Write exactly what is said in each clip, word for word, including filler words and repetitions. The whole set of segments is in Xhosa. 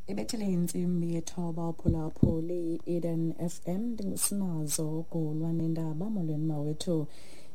Ibethele intsimbi yethoba uphulaphuli i-Eden F M, ndingusinazo Gulwa nendaba. Molweni mawethu.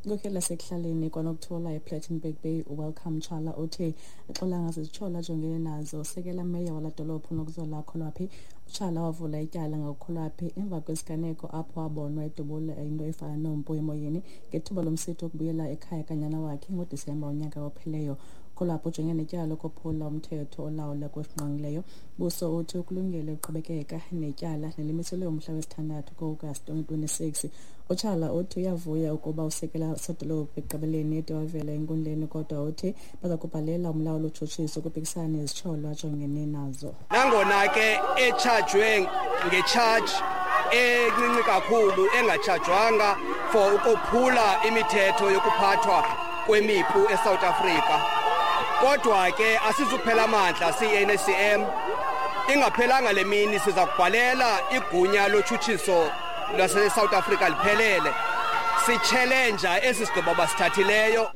Inkokheli yasekuhlaleni kwanokuthola ePlettenberg Bay uWelcome Tshala uthi axolanga zizitshola ajongene nazo sekela meya wala dolophu Nokuzola Kholwaphi. uTshala wavula ityala ngoKholwaphi emva kwesiganeko apho wabonwa edubula into efana nompu emoyeni ngethuba lomsitho wokubuyela ekhaya kanyana wakhe ngoDisemba unyaka opheleyo. Kholwaphi ujongene netyala lokophula umthetho olawula kwesingqongileyo. Buso uthi ukulungele uqhubekeka netyala nelimiselwe umhla wesithandathu ku-August twenty twenty-six. uTshala uthi uyavuya ukuba usekela sodolophu ekugqibeleni ede wavela enkundleni, kodwa uthi baza kubhalela umlawuli utshutshiso ukuphikisana nezitsholo ajongene nazo. Nangona ke etshajwe ngetshaji encinci kakhulu engatshajwanga for ukophula imithetho yokuphathwa kwemipu eSouth Africa, kodwa ke asizuphela amandla siyi-N A C M. Ingaphelanga le mini siza kubhalela igunya lotshutshiso lwase-South Africa liphelele, sitshelenja esi sigqibo basithathileyo.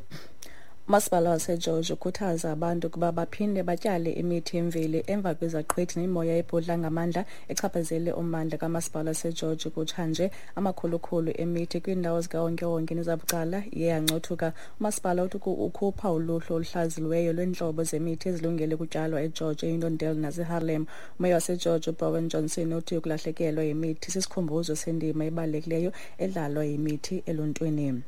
Umasipala waseGeorge ukhuthaza abantu ukuba baphinde batyale imithi yemveli emva kwezaqhwithi nemimoya ebhudla ngamandla echaphazele ummandla kamasipala waseGeorge kutshanje. Amakhulukhulu emithi kwiindawo zikawonkewonke nezabucala iye yancothuka. Umasipala uthi ukhupha uluhlu oluhlaziyiweyo lweentlobo zemithi ezilungele ukutyalwa eGeorge, eUniondale naseHarlem. Umeya waseGeorge uBowen Johnson uthi ukulahlekelwa yimithi sisikhumbuzo sendima ebalulekileyo edlalwa yimithi eluntwini.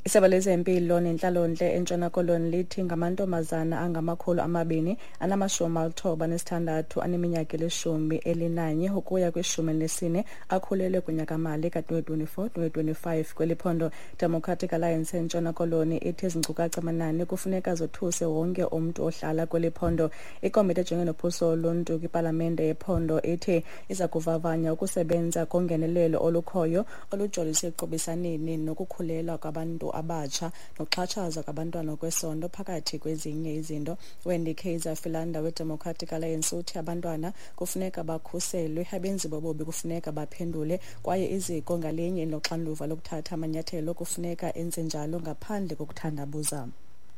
Isebe lezempilo nentlalontle eNtshona Koloni lithi ngamantombazana angamakhulu amabini anamashumi alithoba nesithandathu aneminyaka elishumi elinanye ukuya kwishumi elinesine akhulelwe kunyakamali ka-twenty twenty-four twenty twenty-five kweli phondo. Democratic Alliance eNtshona Koloni ithi ezi nkcukacha manani kufuneka zothuse wonke umntu ohlala kweli phondo. Ikomiti ejongene nophuhliso loluntu kwipalamente yephondo ithi iza kuvavanya ukusebenza kongenelelo olukhoyo olujolise ekuqhubisaneni nokukhulelwa kwabantu abatsha nokuxhatshazwa kwabantwana kwesondo phakathi kwezinye izinto. Wendy Kaiser Philander weDemocratic Alliance uthi abantwana kufuneka bakhuselwe, abenzi bobubi kufuneka baphendule, kwaye iziko ngalinye linoxanduva lokuthatha amanyathelo kufuneka enze njalo ngaphandle kokuthandabuza.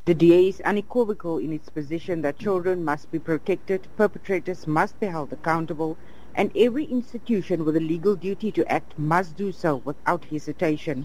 The D A is unequivocal in its position that children must be protected, perpetrators must be held accountable, and every institution with a legal duty to act must do so without hesitation.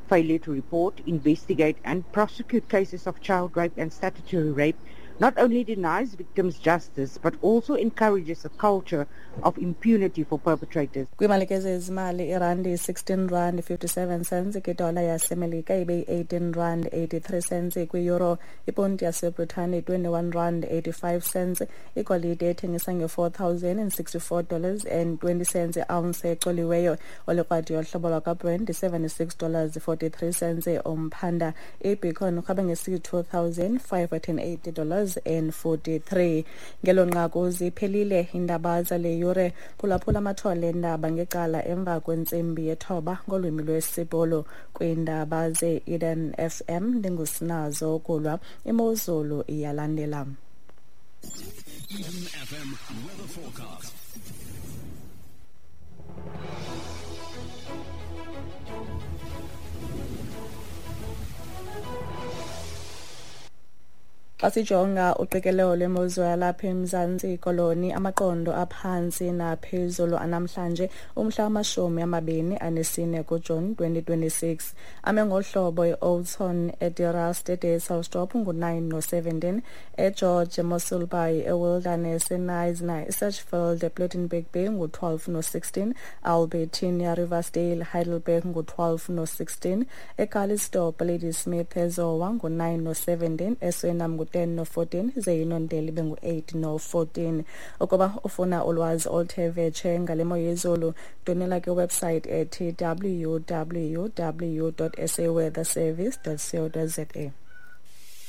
Failure to report, investigate and prosecute cases of child rape and statutory rape not only denies victims justice but also encourages a culture of impunity for perpetrators. Kwimalike zezimali, irandi sixteen rand fifty-seven cents kwidola yaseMelika ibe eighteen rand eighty-three cents kwi-euro, iponti yaseBritane twenty-one rand eighty-five cents, igolide ethengisa nge-four thousand and sixty-four dollars and twenty cents i-ounce ecoliweyo, olikrwadi yohlobo lwakwaBrent seventy-six dollars forty-three cents umphanda, ibicon urhabe nge-two thousand five hundred and eighty dollars and forty-three. Ngelo nqaku ziphelile iindaba zale yure. Phulaphula amathole endaba ngecala emva kwentsimbi yethoba ngolwimi lwesiBhulu. Kwiindaba ze-Eden F M ndingusinazo Kulwa. Imozulu iyalandela. Eden F M weather forecast. Xa sijonga uqikelelo lwemozulu yalapha eMzantsi Koloni, amaqondo aphantsi naphezulu anamhlanje umhla wamashumi amabini anesine kuJuni twenty twenty-six ame ngohlobo eOldtown, eDeRust, eDesalstrop ngu-nine no-seventeen, eGeorge, eMossel Bay, eWilderness, eKnysna, eSedgefield, ePlettenberg Bay ngu-twelve no-sixteen, Albertinia, Riversdale, Heidelberg ngu-twelve no-sixteen, eCalitzdorp, Ladysmith, eZowa ngu-nine no-seventeen, eSuriname ngu-ten no-fourteen, zeUniondale ibe ngu-eight no-fourteen. Ukuba ufuna ulwazi oluthe vetshe ngale mo yezulu, donela kwiwebsite ethi w w w dot s a weather service dot co dot z a.